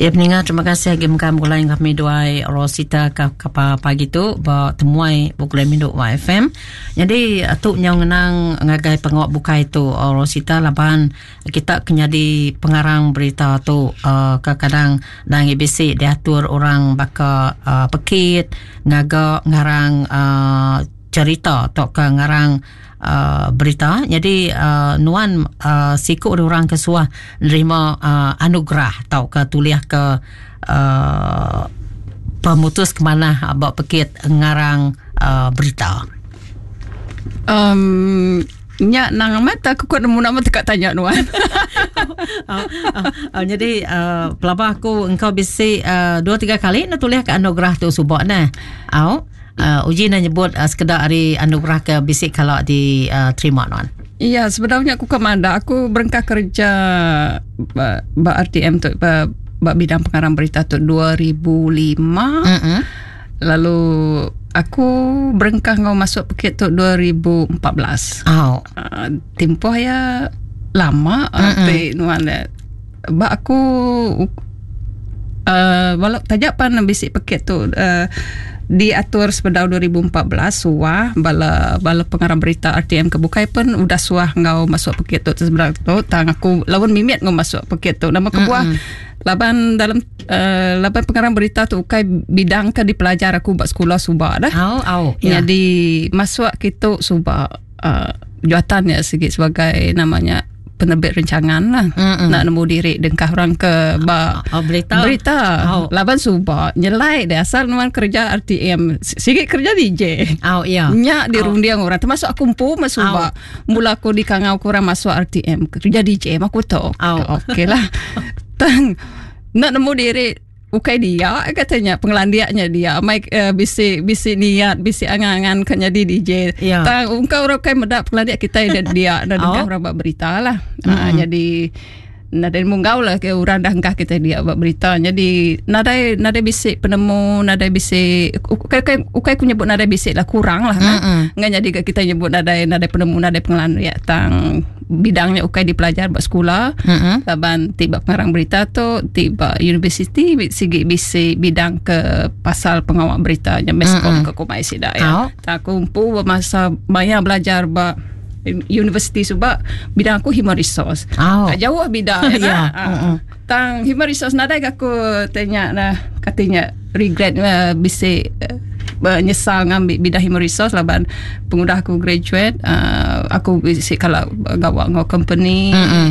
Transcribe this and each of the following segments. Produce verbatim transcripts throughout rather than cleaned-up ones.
Ya peninga, terima kasih agi mega begulai enggau kami duai Rosita ka ka pagi tu ba temuai begulai mindu Y F M. Jadi tu nyau ngenang ngagai pengawa bukai tu Rosita, laban kita ke nyadi pengarang berita tu uh, kadang dang A B C diatur orang baka uh, pekit ngaga ngarang uh, cerita atau ke ngarang Uh, berita. Jadi uh, nuan uh, siku orang ke suah nerima uh, anugerah atau ke tuliah ke uh, pemutus ke mana bak pekit ngarang uh, berita. Um nya nang amat aku kuat nemu nama tekak tanya nuan. uh, uh, uh, jadi uh, pelaba aku engkau bisi uh, dua tiga kali nak tuliah ke anugerah tu subak nah. Au. Uh, uji nak nyebut uh, sekedar hari anugerah ke bisik kalau diterima uh, nuan. Iya, sebenarnya aku ke mana aku berengkah kerja ba, ba R T M tu ba, ba bidang pengarang berita tu dua ribu lima. Mm-hmm. Lalu aku berengkah ngau masuk pekit tu dua ribu empat belas. Oh. Uh, tempoh ya lama mm-hmm. nuan ba aku uh, walau tajak pan bisik pekit tu uh, diatur sepedau dua ribu empat belas suah bala bala pengarang berita R T M ke bukai pun udah suah ngau masuk pekit tu sebelah tu tang aku lawan mimit ngau masuk pekit tu nama kebuah mm-hmm. laban dalam uh, laban pengarang berita tu ukai bidang ke dipelajar aku buat sekolah subak dah. Oh, oh, yeah. Jadi masuk kitu subak uh, juatannya sikit sebagai namanya penerbit rencangan lah. Mm-mm. Nak nemu diri dengkah orang ke ba oh, berita. Berita. Oh. Laban subak nyelai deh asal nuan kerja R T M sikit kerja D J. Oh iya. Nyak dirundiang oh. orang termasuk aku empu masuk oh. Mula aku di kangau kurang masuk R T M kerja D J aku tu. Oh. Okey lah. Tang nak nemu diri ukai dia katanya pengelandiaknya dia mai uh, bisi bisi niat bisi angan-angan kan jadi D J. Yeah. Tang ungkau orang kai medak pengelandiak kita dia dia dah oh. orang buat berita lah. Mm-hmm. Uh, jadi nadai munggau lah ke orang dah engkah kita dia buat berita. Jadi nadai nadai bisi penemu, nadai bisi ukai ukai ukai aku nyebut nadai bisi lah kurang lah. Mm-hmm. Ngan jadi kita nyebut nadai nadai penemu, nadai pengelandiak tang bidangnya ukai dipelajar buat sekolah. Mm-hmm. Laban tiba pengarang berita tu tiba universiti sigi bisi bidang ke pasal pengawal beritanya meskom mm-hmm. ke kumai sida ya. Oh. Tak aku empu masa maya belajar ba universiti sebab bidang aku human resource. Oh. Tak jauh bidang ya. Yeah. Uh, tang human resource nadai aku tanya nah katanya regret uh, bisi uh, menyesal ngambil bidang human resource laban pengudah aku graduate uh, aku bisi kalau gawak ngau company mm-hmm.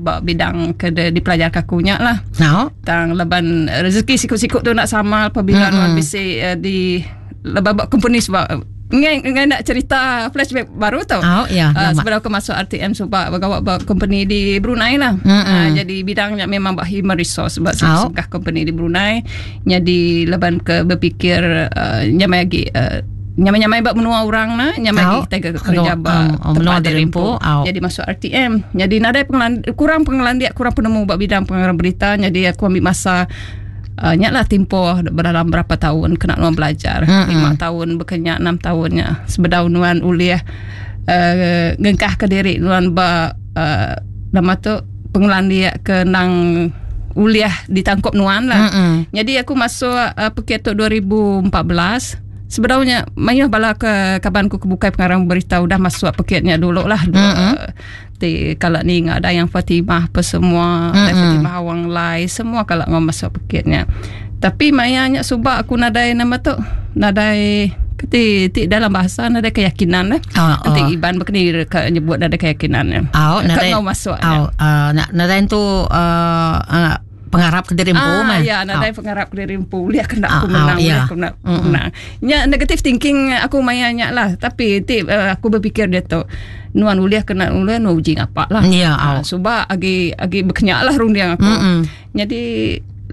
uh, bidang ke dipelajar kakunya lah. No. Tang laban rezeki sikut-sikut tu nak sama apabila mm-hmm. nuan bisi uh, di laban buat company sebab ngai ngai nak cerita flashback baru tau. Oh, ya, uh, sebelum aku masuk R T M sebab bergawak buat company di Brunei lah. Mm-hmm. Uh, jadi bidangnya memang buat human resource sebab oh. sebuah company di Brunei. Jadi leban ke berfikir uh, nyamai lagi uh, nyamai-nyamai buat menua orang lah, nyamai oh. lagi kita kerja um, buat um, tempat dirimpu. Oh. Jadi masuk R T M. Jadi nadai pengelan, kurang pengelandiak, kurang penemu buat bidang pengarang berita. Jadi aku ambil masa Uh, nyaklah tempoh dalam berapa tahun kena nuan belajar mm-hmm. lima tahun berkenyak enam tahunnya sebedau nuan uliah uh, ngengkah ke diri nuan ba uh, nama tu pengelandiak ke nang uliah ditangkap nuan lah. Mm-hmm. Jadi aku masuk uh, pekit tu dua ribu empat belas. Sebenarnya mayuh bala ke kabanku kebukai pengarang berita udah masuk pekitnya dulu lah. Mm-hmm. Ti kalau ni enggak ada yang Fatimah apa semua, mm-hmm. ada Fatimah Awang Lai semua kalau ngau masuk pekitnya. Tapi mayanya subak aku nadai nama tu, nadai keti ti dalam bahasa nadai keyakinan lah. Oh, Nanti oh. Iban berkeni ke nyebut nadai keyakinan. Oh, nadai ngau masuk. Oh, uh, nadai tu uh, uh, pengarap ke diri empu ah, mah. Ya, nadai oh. pengarap ke diri empu. Lihat kena aku oh, menang, oh, yeah. aku nak mm-hmm. menang. Nya negative thinking aku mayanya lah, tapi ti uh, aku berfikir dia tu nuan uliah kena uliah nu uji ngapak lah. Ya, yeah, oh. Sebab agi agi berkenyak lah rundiang aku. Mm-hmm. Jadi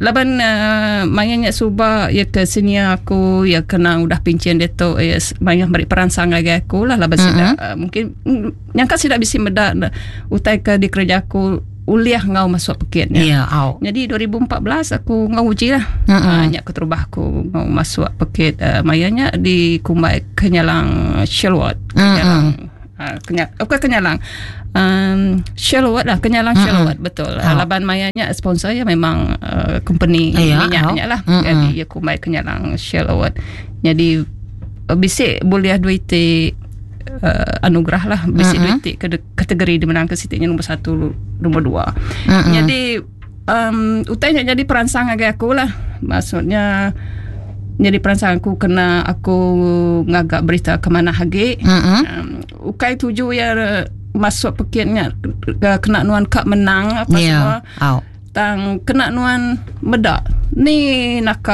laban uh, mayanya suba ya ke sini aku ya kena udah pincin dia tu ya maya beri peransang lagi aku lah laban mm-hmm. sida uh, mungkin nyangka sida bisi medak utai ke di kerja aku uliah ngau masuk pekitnya. Ya, yeah, oh. Jadi dua ribu empat belas aku ngau uji lah. Mm-hmm. Uh, nyak keterubah aku ngau masuk pekit uh, mayanya di Kumbai Kenyalang Shelwat. Mm-hmm. Kenyalang Uh, kenya, bukan Kenyalang. Um, Shell Award lah, Kenyalang mm-hmm. Shell Award betul. Oh. Laban mayanya sponsor ya memang uh, company yeah, minyaknya oh. lah. Mm-hmm. Jadi ya kumai Kenyalang Shell Award. Jadi uh, bisik boleh duit uh, anugerah lah, bisik mm-hmm. duit ke kategori di menang ke sitiknya nombor satu, nombor dua. Mm-hmm. Jadi um, utainya jadi perangsang agak aku lah. Maksudnya jadi perangsang aku kena aku ngagak berita ke mana lagi. Mm-hmm. Um, ukai tuju ya masuk pekitnya kena nuan kak menang apa yeah. semua. Oh. Tang kena nuan medak ni nak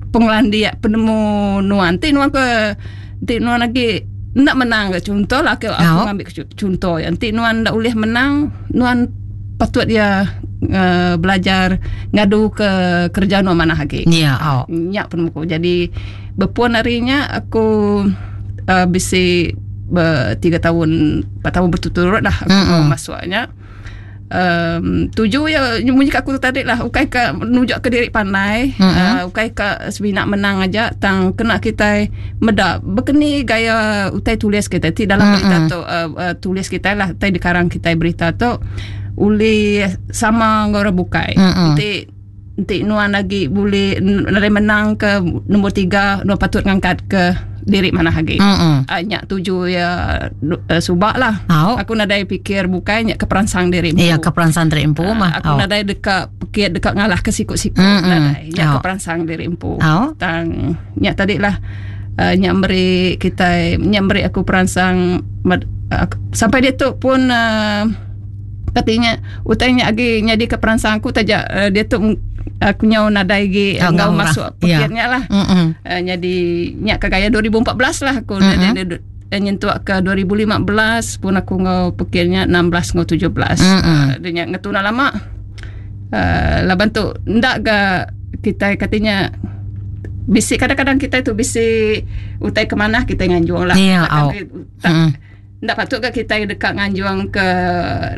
pengelandia penemu nuan ti nuan ke ti nuan lagi nak menang ke contoh lah aku, aku oh. ambil contoh ya ti nuan ndak boleh menang nuan patut dia uh, belajar ngadu ke kerja nuan mana lagi. Ya, yeah, oh. Nyak penemu. Jadi berpuan harinya aku uh, bisi ber, tiga tahun, empat tahun berturut-turut lah aku mm-hmm. masuknya. Um, tuju ya bunyi aku tu tadi lah ukai ke nunjuk ke diri pandai, mm-hmm. uh, ukai ke sebinak menang aja tang kena kita medak berkeni gaya utai tulis kita ti dalam mm-hmm. berita tu uh, uh, tulis kita lah utai di karang kita berita tu uli sama ngora bukai. Mm-hmm. Nanti nanti nuan lagi boleh nare menang ke nombor tiga nuan patut ngangkat ke diri mana lagi. Mm-hmm. Uh, nyak tuju ya uh, subak lah. Oh. Aku nadai pikir bukai nyak keperansang diri empu. Iya, keperansang diri empu uh, mah. Aku oh. nadai dekat pekit dekat ngalah ke sikut-sikut mm-hmm. nadai. Nyak oh. keperansang diri empu. Oh. Tang nyak tadi lah uh, nyak beri kita nyak beri aku peransang uh, sampai dia tu pun uh, katanya utainya lagi nyadi ke peransang aku tajak uh, dia tu aku nyau nadai lagi oh, ngau masuk pekitnya yeah. lah. Mm-hmm. Uh, jadi nyak ke gaya dua ribu empat belas lah aku mm-hmm. dia, dia, dia nyentuh ke dua ribu lima belas pun aku ngau pekitnya enam belas ngau tujuh belas. Mm-hmm. Uh, dia nyak ngetuna lama. Uh, laban tu ndak ga kita katanya bisik kadang-kadang kita itu bisik utai ke mana kita nganjuang lah. Yeah, oh. Tak, mm. Ndak patut ke kita dekat nganjuang ke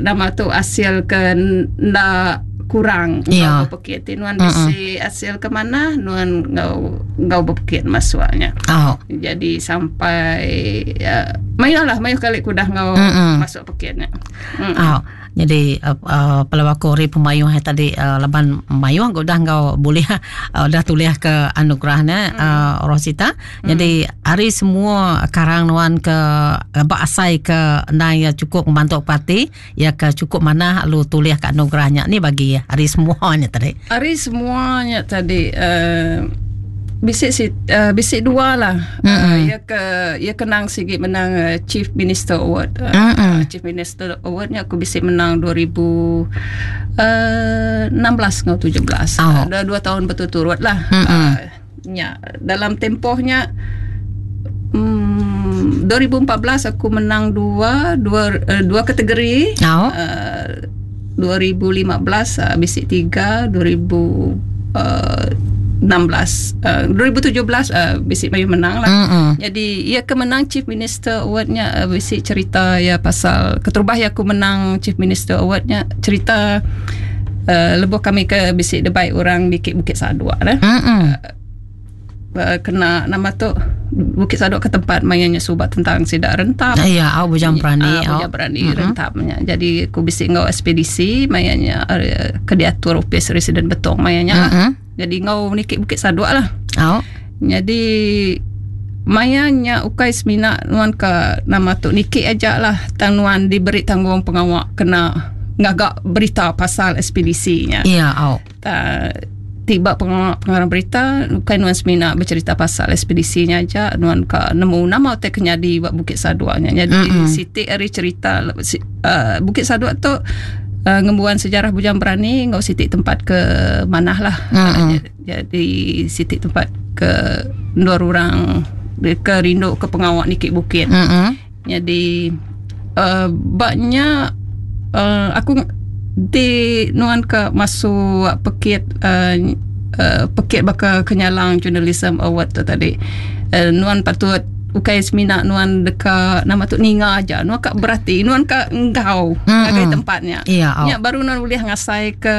nama tu hasil ke ndak kurang yeah. ngau berpekit nuan bisi hasil ke mana nuan ngau ngau berpekit masuknya. Oh. Jadi sampai uh, mayuh lah mayuh kali kudah ngau mm-mm. masuk pekitnya. Mm. Oh. Jadi uh, uh, pelawak ori pemayuh tadi uh, laban mayuh udah ngau boleh uh, dah tulis ke anugerahnya mm. uh, Rosita. Mm. Jadi hari semua karang nuan ke bak asai ke nai cukup membantu parti ya ke cukup mana lu tulis ke anugerahnya ni bagi hari semuanya tadi. Hari semuanya tadi uh, bisik si uh, bisik dua lah. Mm-hmm. Uh, ia ke ia kenang sikit menang uh, Chief Minister Award. Uh, mm-hmm. uh, Chief Minister Awardnya aku bisik menang dua ribu enam belas ngau tujuh belas. Oh. Uh, dah dua tahun berturut-turut lah. Mm-hmm. Uh, nya dalam tempohnya um, dua ribu empat belas aku menang dua dua uh, dua kategori. Oh. Uh, dua ribu lima belas uh, bisik tiga, dua ribu enam belas uh, dua ribu tujuh belas uh, bisik mayu menang lah. Mm-hmm. Jadi ia kemenang Chief Minister Awardnya uh, bisik cerita ya pasal keterubah ya aku menang Chief Minister Awardnya cerita uh, lebuh kami ke bisik debai orang di Bukit Sadua lah. Mm-hmm. Uh, kena nama tu Bukit Sadok ke tempat mainnya subat tentang sidak rentap. Ya, au bujang berani, au bujang berani mm-hmm. rentapnya. Jadi aku bisik ngau ekspedisi mainnya uh, ke diatur office residen Betong mainnya mm-hmm. lah. Jadi ngau nikik Bukit Sadok lah. Oh. Jadi mayanya ukai semina nuan ke nama tu nikik aja lah tang nuan diberi tanggung pengawak kena ngagak berita pasal ekspedisinya. Ya, oh. Ta, tiba pengawak pengarang berita ukai nuan semina bercerita pasal ekspedisinya aja nuan ke nemu nama te kenyadi buat Bukit Saduaknya. Jadi mm-hmm. Siti ari cerita uh, Bukit Saduak tu Uh, ngembuan sejarah bujang berani ngau sitik tempat ke manah lah. Mm-hmm. Uh, jadi sitik tempat ke dua orang ke rindu ke pengawak nikik bukit. Mm-hmm. Jadi uh, baknya uh, aku di nuan ke masuk pekit uh, uh, pekit baka Kenyalang Journalism Award tu tadi. Uh, nuan patut Ukai semina nuan deka nama tu ninga aja, nuan ka berati, nuan ka enggau mm-hmm. ngagai tempatnya. Yeah, oh. Nya baru nuan boleh ngasai ke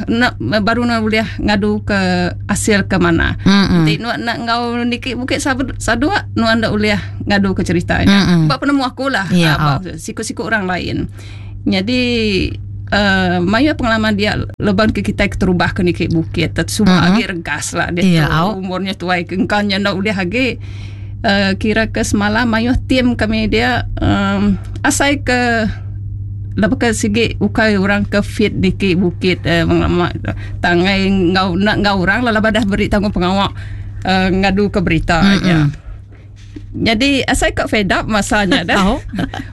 nak baru nuan boleh ngadu ke hasil ke mana. Mm-hmm. Nanti nuan nak enggau niki bukit Saduak, nuan ndak boleh ngadu ke ceritanya. Mm-hmm. Bab penemu aku lah, yeah, uh, oh. siku-siku orang lain. Jadi Uh, maya pengalaman dia leban ke kita keterubah ke niki bukit semua mm-hmm. agi regas lah dia yeah, tu oh. umurnya tuai kengkannya ndak boleh agi. Uh, kira ke semalam mayuh tim kami dia um, asai ke lepas ke sigi ukai orang ke fit niki bukit eh, mengelama tangai ngau nak ngau orang lah dah beri tanggung pengawak uh, ngadu ke berita mm-hmm. ya. Jadi asai kok fed up masanya dah. Oh.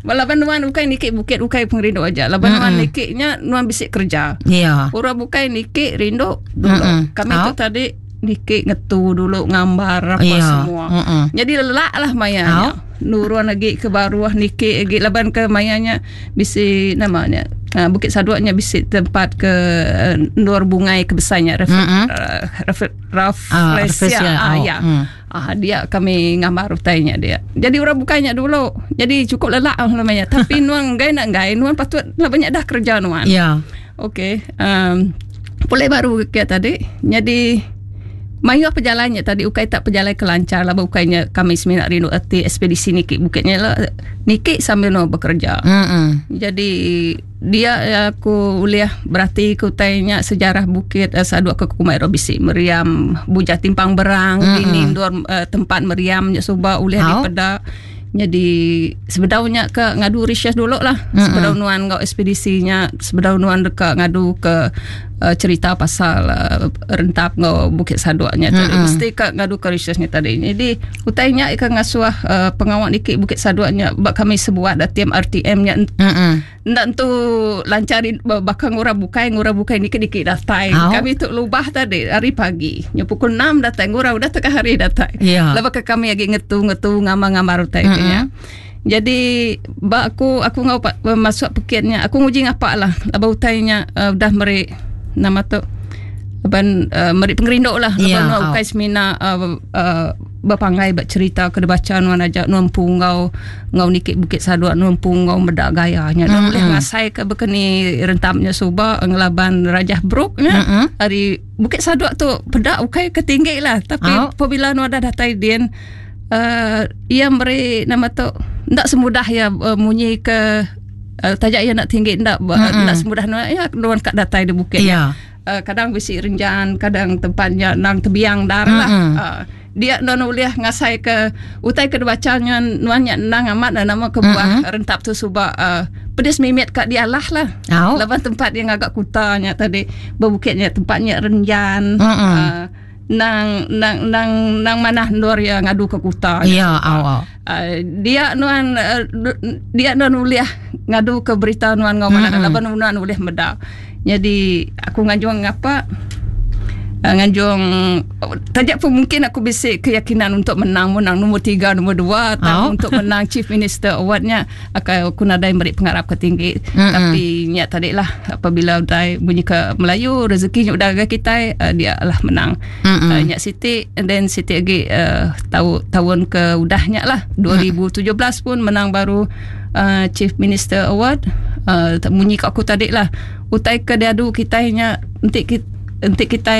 Laban nuan ukai niki bukit ukai pengerindu aja. Laban mm-hmm. nuan nikiknya nuan bisik kerja. Yeah. Orang bukai niki rindu dulu. Mm-hmm. Kami oh. tu tadi niki ngetu dulu ngambar apa yeah. semua. Mm-mm. Jadi lelak lah mayanya. Oh. Nurun lagi ke baruah niki lagi laban ke mayanya bisi namanya uh, Bukit Saduaknya bisi tempat ke uh, nur bungai kebesarnya ref, mm-hmm. uh, ref, Rafflesia. Ah, ah, ya. Mm. Ah, dia kami ngambar utainya dia. Jadi orang bukanya dulu. Jadi cukup lelak lah namanya. Tapi nuan gai nak gai nuan patut lah banyak dah kerja nuan. Ya. Yeah. Okey. Um, boleh baru ke tadi. Jadi mayuh perjalanannya tadi ukai tak perjalan kelancar lah bukainya kami seminat rindu erti ekspedisi niki bukitnya lah niki sambil no bekerja. Mm-mm. Jadi dia aku uliah berarti kutainya sejarah bukit eh, Saduak ke Kumai Robisi meriam Bujah Timpang Berang dini dua eh, tempat meriamnya suba uliah How? di peda. Jadi sebedaunya ke ngadu research dulu lah. Mm-mm. Sebedau nuan ngau ekspedisinya, sebedau nuan dekat ngadu ke uh, cerita pasal uh, rentap ngau Bukit Saduaknya tadi. Mesti ke ngadu ke researchnya tadi. Jadi utainya ke ngasuah uh, pengawak dikit Bukit Saduaknya bak kami sebuat dah tim R T M-nya Mm-mm. ndak tu lancar bakal ngurah bukai ngurah bukai dikit-dikit datai. Au. Kami tu lubah tadi hari pagi. Nya pukul enam datang ngurah udah tengah hari datang. Ya. Lepas ke kami lagi ngetu-ngetu ngamar-ngamar utai Mm-mm. mm-hmm. Jadi bak aku aku ngau masuk pekitnya aku nguji ngapak lah. Lepas utainya uh, dah meri nama tu Ban uh, meri pengerindu lah. Ya, Lepas au. ukai semina uh, uh, berpangai bercerita ke baca nuan aja nuan pungau ngau nikik Bukit Saduak nuan pungau medak gayanya. Nuan Mm-mm. boleh ngasai ke bekeni rentamnya suba ngelaban Rajah Brooke-nya. Mm-mm. Hari Bukit Saduak tu pedak ukai ketinggi lah. Tapi Au. apabila nuan dah datai din uh, ia meri nama tu ndak semudah ya uh, munyi ke uh, tajak ia nak tinggi ndak Mm-mm. ndak semudah nuan ya nuan kat datai di bukit. Ya. Uh, kadang bisi renjan, kadang tempatnya nang tebiang dar lah. Mm-mm. Uh, dia nuan uliah ngasai ke utai ke bacanya nuan nya nang amat dan nama ke buah Mm-mm. rentap tu suba uh, pedis mimit kat dia lah lah. Au. Laban tempat yang agak kutanya tadi berbukitnya tempatnya renjan. Mm-mm. Uh, nang nang nang nang manah nur yang ngadu ke kuta. Ya, au au. Uh, dia nuan uh, dia nuan uliah ngadu ke berita nuan ngau mana Mm-mm. laban nuan uliah meda. Jadi aku nganjuang ngapa uh, nganjuang tajak pun mungkin aku bisik keyakinan untuk menang menang nombor tiga nombor dua Oh. atau untuk menang Chief Minister Awardnya aku aku nadai meri pengharap ke tinggi. Mm-mm. Tapi niat tadi lah apabila udah bunyi ke Melayu rezekinya udah ke kita uh, dia lah menang. Mm-mm. Uh, nyak Siti and then Siti lagi uh, tahu tahun ke udahnya lah dua ribu tujuh belas pun menang baru uh, Chief Minister Award. Uh, bunyi kat aku tadi lah utai ke diadu kita nya entik kita entik kita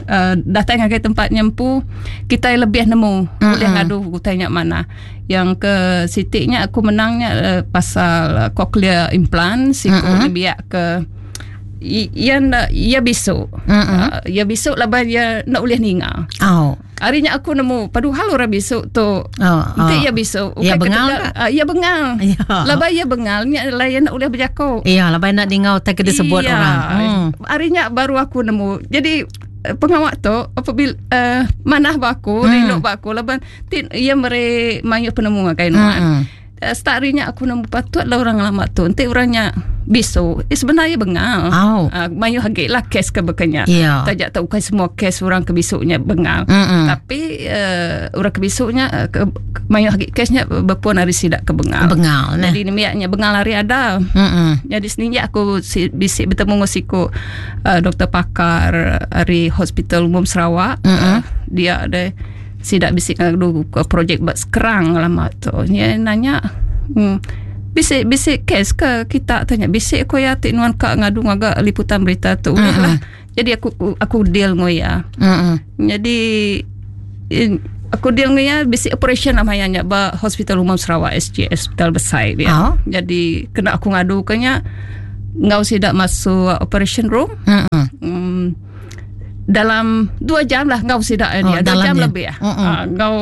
uh, datang ke tempat nyempu kita lebih nemu Mm-mm. boleh ngadu utainya mana yang ke Sitiknya aku menangnya uh, pasal uh, cochlear implant siku Mm-mm. biak ke ia nak ia besok. Mm-mm. Uh, ia besok laban ia nak boleh ninga. Au. Harinya aku nemu paduhal orang besok tu. Oh, Nanti oh. ia besok. Ia bengal tak? Uh, ia bengal. Ya. Laban ia bengal nya lain nak boleh berjakok. Iya, laban nak dengar tak kena sebut Iya. orang. Hmm. Harinya baru aku nemu. Jadi eh, pengawak tu apabila uh, manah baku, Hmm. rindu baku laban tin ia mere mayu penemu ngagai nuan. Mm-mm. Uh, start harinya aku nemu patut lah orang lama tu. Nanti orangnya besok. Eh, sebenarnya bengal. Au. Uh, mayu hagik lah kes ke bekenya. Ya. Tajak tak bukan semua kes orang ke besoknya bengal. Mm-mm. Tapi uh, orang ke besoknya uh, ke, ke, mayu hagik kesnya berpuan hari sidak ke bengal. Bengal nah. Jadi nemiaknya bengal hari ada. Mm-mm. Jadi seninja aku si, bisik bertemu dengan siku uh, doktor pakar dari Hospital Umum Sarawak. Mm-mm. Uh, dia ada Sidak bisik ngadu projek buat sekerang lama tu. Dia nanya, hmm, bisik bisik kes ke kita tanya bisik ko ya ti nuan ka ngadu ngaga liputan berita tu. Mm-hmm. Lah. Jadi aku aku deal ngo ya. Mm-hmm. Jadi in, aku deal ngo ya bisik operation namanya nya ba Hospital Umum Sarawak S G S Hospital Besai dia. Oh. Jadi kena aku ngadu kenya ngau sidak masuk operation room. Mm-hmm. Hmm, dalam dua jam lah ngau sidak oh, dia dua jam dia. Lebih ah. Uh-uh. Uh, ngau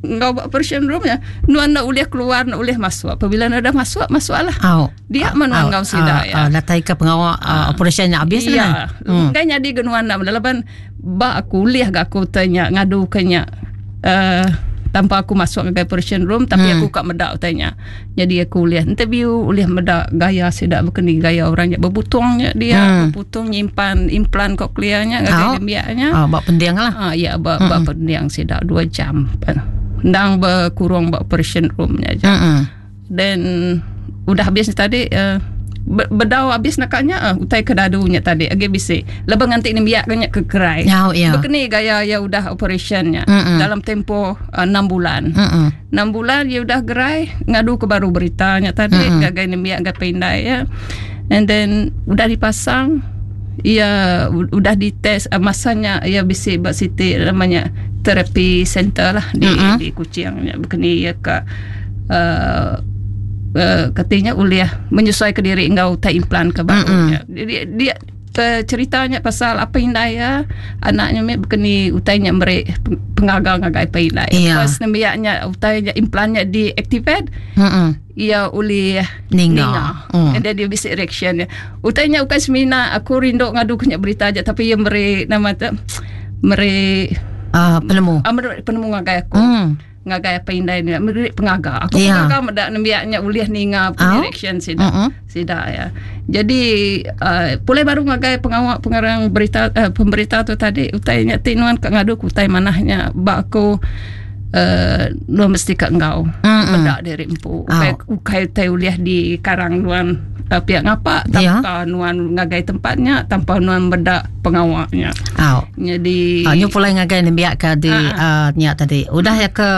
ngau operation room ya nuan nak boleh keluar nak boleh masuk. Apabila nak dah masuk masuklah. Oh. Dia menuan oh, ngau sidak uh, ya. Uh, datai ke pengawal uh, operation nya habis lah. Ya. Hmm. Kan jadi genuan nak laban ba aku liah gak aku tanya ngadu kenya uh, tanpa aku masuk ke operation room tapi hmm. aku kat medak tanya. Jadi aku boleh interview, boleh medak gaya sidak berkeni gaya orangnya berbutungnya dia, hmm. berbutung nyimpan implan kokleanya ngagai dembiaknya. Oh, bak pendiang lah. Ah ya, bak hmm. bak pendiang sidak dua jam. Ndang berkurung bak operation roomnya aja. Hmm. Dan udah habis tadi uh, bedau habis nakaknya uh, utai kedadunya tadi agi bisi lebih nganti ni biak kenya ke kerai. Oh, yeah. Berkeni gaya ya udah operationnya mm-mm. dalam tempoh uh, enam bulan. enam bulan dia udah gerai ngadu ke baru beritanya tadi gagai ni biak gagai pindai ya. And then udah dipasang ia udah dites uh, masanya ia bisi bak siti namanya terapi center lah di mm-hmm. di Kuching nya berkeni ia ke uh, Uh, katanya uliah menyesuaikan diri engkau tak implan ke barunya. Mm-hmm. Dia, dia ceritanya pasal apa indai ya anaknya mek berkeni utainya mere pengagal ngagai apa indai. Yeah. First nembiaknya utainya implannya diactivate. Mm-hmm. Ia uliah ninga. ninga. Mm. And then dia bisa reaction dia. Utainya bukan semina aku rindu ngadu kenya berita aja tapi ia mere nama tu mere uh, penemu. Uh, mere penemu ngagai aku. Mm. Ngagai apa indai ni mere pengaga aku yeah. pengaga medak nembiaknya uliah ninga oh. reaction sida uh-uh. sida ya. Jadi uh, pulai baru ngagai pengawak pengarang berita uh, pemberita tu tadi utainya ti nuan ka ngadu ku utai manahnya ba aku uh, nuan mesti ka engkau medak diri empu ukai oh. ukai utai uliah di karang nuan uh, pihak ngapa tanpa yeah. nuan ngagai tempatnya tanpa nuan medak pengawaknya. Oh. Jadi oh, nyu pulai ngagai nembiak ke di uh, nyak tadi. Udah ya ke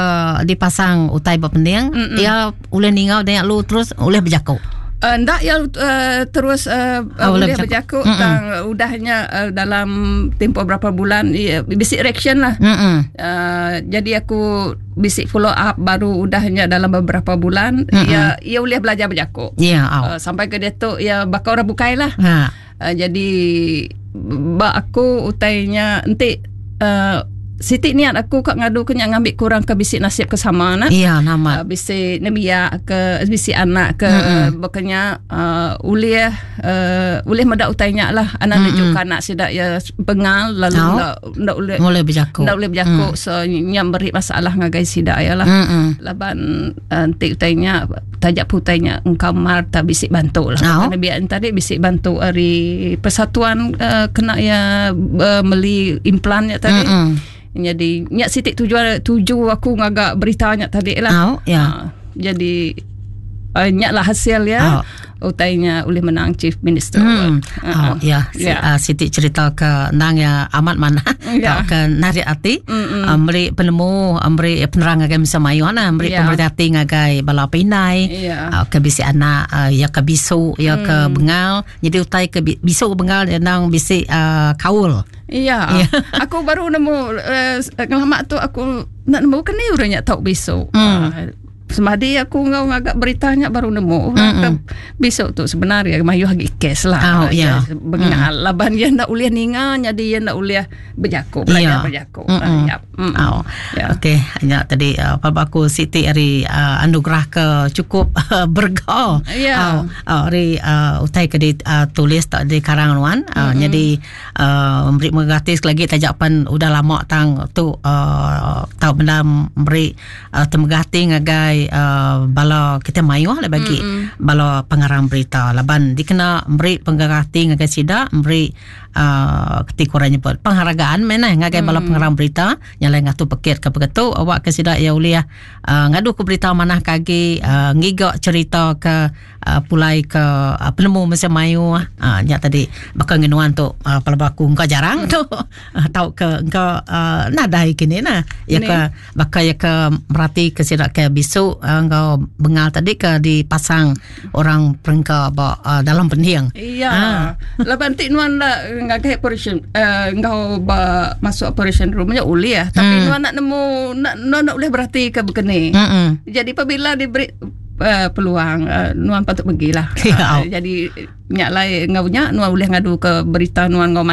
dipasang utai berpending, ya uleh ningau dia lu terus uleh berjakuk. Uh, ndak ya uh, terus uh, oh, uleh berjakuk tang udahnya uh, dalam tempoh berapa bulan ya, bisik reaction lah. Uh, jadi aku bisik follow up baru udahnya dalam beberapa bulan Mm-mm. ya ia uleh belajar berjakuk. Ya, yeah, oh. uh, sampai ke dia tu ya bakal orang bukai lah. Ha. Uh, jadi bak aku utainya entik uh, Siti niat aku kat ngadu kenya ngambil kurang ke bisik nasib ke sama nak. Iya, nama. Uh, bisik nembiak ke bisik anak ke mm-hmm. bekenya uh, ulih uh, ulih medak utainya lah anak mm-hmm. lejuk anak sidak ya bengal lalu oh. ndak ndak ulih boleh berjakuk. Ndak boleh berjakuk mm. so nyam beri masalah ngagai sidak ya lah. Mm-hmm. Laban entik uh, utainya tajak putainya engkau mar tak bisik bantu lah. Oh. Kerana biar tadi bisik bantu ari persatuan uh, kena ya uh, meli implannya tadi. Mm-hmm. Jadi nyak sitik tujuan tuju aku ngagak beritanya tadi lah. Oh, ya. Ha, jadi uh, nyak lah hasil ya. Oh. Utainya oleh menang Chief Minister. Hmm. Uh, Oh, ya. Ya. Uh, sitik cerita ke nang ya amat mana Ya. ke narik hati uh, meri penemu uh, meri penerang ngagai misa mayu ana meri Ya. pemerhati hati ngagai bala pinai Ya. uh, ke bisi anak uh, ya ke bisu ya ke Hmm. bengal jadi utai ke bisu ke bengal ya nang bisi uh, kaul. Ya. Aku baru nemu uh, ngelamak tu aku nak nemu kena orangnya tahu besok. Hmm. Uh, semadi aku ngau ngagak beritanya baru nemu orang ke besok tu sebenarnya mayu hagi kes lah. Oh, ya. Bengal laban dia ndak boleh ninga jadi dia ndak boleh berjakuk belajar Ya. berjakuk. Mm-mm. Uh, yap. Mm. Oh. Ya. Okey, hanya tadi uh, apa aku Siti hari uh, anugerah ke cukup uh, berga. Ya. Oh, uh, hari uh, utai ke di uh, tulis tak di karang nuan. Uh, mm-hmm. Jadi uh, memberi gratis lagi tajapan udah lama tang tu uh, tau benda memberi uh, temegah hati ngagai uh, bala kita mayuh lah bagi mm-hmm. bala pengarang berita. Laban dikena memberi penggarah hati ngagai sida, memberi uh, ketika orang nyebut penghargaan mana ngagai bala pengarang berita nyalai ngatu pekit ke begitu awak ke sida ya ulih uh, ngadu ke berita manah kagi uh, ngiga cerita ke uh, pulai ke uh, penemu masa mayu uh, nya tadi bakal ngenuan tu uh, kalau aku engkau jarang tu uh, tau ke engkau uh, nadai kini nah ya ke bakal ya ke merati ke sida ke bisu uh, engkau bengal tadi ke dipasang orang perengka ba uh, dalam pending. Iya. Ha. Laban ti nuan la ngagai operation uh, engkau ba masuk operation room nya ulih tapi hmm. nuan nak nemu nak nuan nak boleh berhati ke begini. Hmm. Jadi apabila diberi uh, peluang uh, nuan patut pergilah. Ya. Uh, jadi nyak lai ngau nya nuan boleh ngadu ke berita nuan ngau.